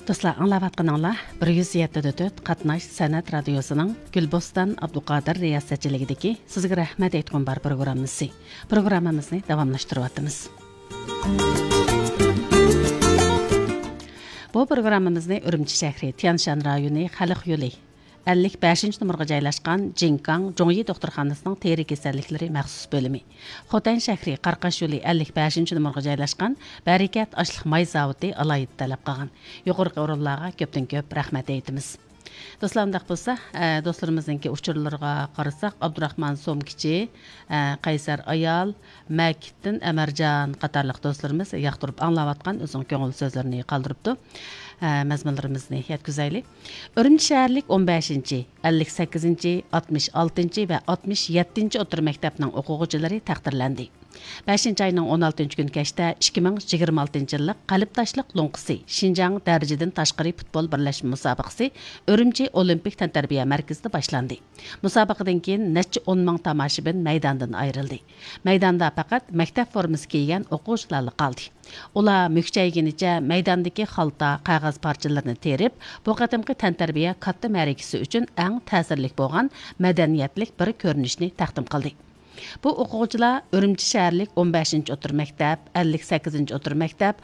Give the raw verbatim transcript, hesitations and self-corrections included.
دوستلار، ئاڭلاۋاتقىنىڭلار بىر يۈز يەتتە دە تۆت قاتناش سەنئەت رادىيوسىنىڭ گۈلبوستان ئابدۇقادىر رىياسەتچىلىكىدىكى سىزگە رەھمەت ئېيتقۇم بار پروگراممىسى. پروگراممىمىزنى داۋاملاشتۇرۇۋاتىمىز. بۇ پروگراممىمىزنى ئۈرۈمچى شەھىرى، تيەنشان رايونى، خەلق يولى، ئەللىك بەشىنچى نومۇرغا جايلاشقان جىڭكاڭ جۇڭيى دوختۇرخانىسىنىڭ تېرە كېسەللىكلىرى مەخسۇس بۆلۈمى، خوتەن شەھىرى، قاراقاش يولى، ئەللىك بەشىنچى نومۇرغا جايلاشقان بەرىكەت ئاشلىق ماي زاۋۇتى ئالاھىدە تەلەپ قىلغان. يۇقىرىقى ئورۇنلارغا كۆپتىن كۆپ رەھمەت ئېيتىمىز. دوستلار، ئۇنداق بولسا، ئە، دوستلىرىمىزنىڭكى ئۇچۇرلىرىغا قارىساق، ئابدۇراخمان سومكىچى، ئە، قەيسەر ئايال، مەكىتتىن ئەمەرجان قاتارلىق دوستلىرىمىز ياقتۇرۇپ ئاڭلاۋاتقان ئۆزىنىڭ كۆڭۈل سۆزلىرىنى قالدۇرۇپتۇ. ئە، مەزمۇنلىرىمىزنى يەتكۈزەيلى. ئۈرۈمچى شەھەرلىك ئون بەشىنچى، ئەللىك سەككىزىنچى، ئاتمىش ئالتىنچى ۋە ئاتمىش يەتتىنچى ئوتتۇرا مەكتەپنىڭ ئوقۇغۇچىلىرى تەقدىرلەندى. بەشىنچى ئاينىڭ ئون ئالتىنچى كۈنى كەچتە ئىككى مىڭ يىگىرمە ئالتىنچى يىللىق قەلبداشلىق لوڭقىسى شىنجاڭ دەرىجىدىن تاشقىرى پۇتبول بىرلەشمە مۇسابىقىسى ئۈرۈمچى ئولىمپىك تەنتەربىيە مەركىزىدە باشلاندى. مۇسابىقىدىن كېيىن نەچچە ئون مىڭ تاماشىبىن مەيداندىن ئايرىلدى. مەيداندا پەقەت مەكتەپ فورمىسى كىيگەن ئوقۇغۇچىلارلا قالدى. ئۇلار مۈكچەيگىنىچە مەيداندىكى خالتا، قەغەز پارچىلىرىنى تېرىپ، بۇ قېتىمقى تەنتەربىيە كاتتا مەرىكىسى ئۈچۈن ئەڭ تەسىرلىك بولغان مەدەنىيەتلىك بىر كۆرۈنۈشنى تەقدىم قىلدى. بۇ ئوقۇغۇچىلار ئۈرۈمچى شەھەرلىك ئون بەشىنچى ئوتتۇرا مەكتەپ، ئەللىك سەككىزىنچى ئوتتۇرا مەكتەپ،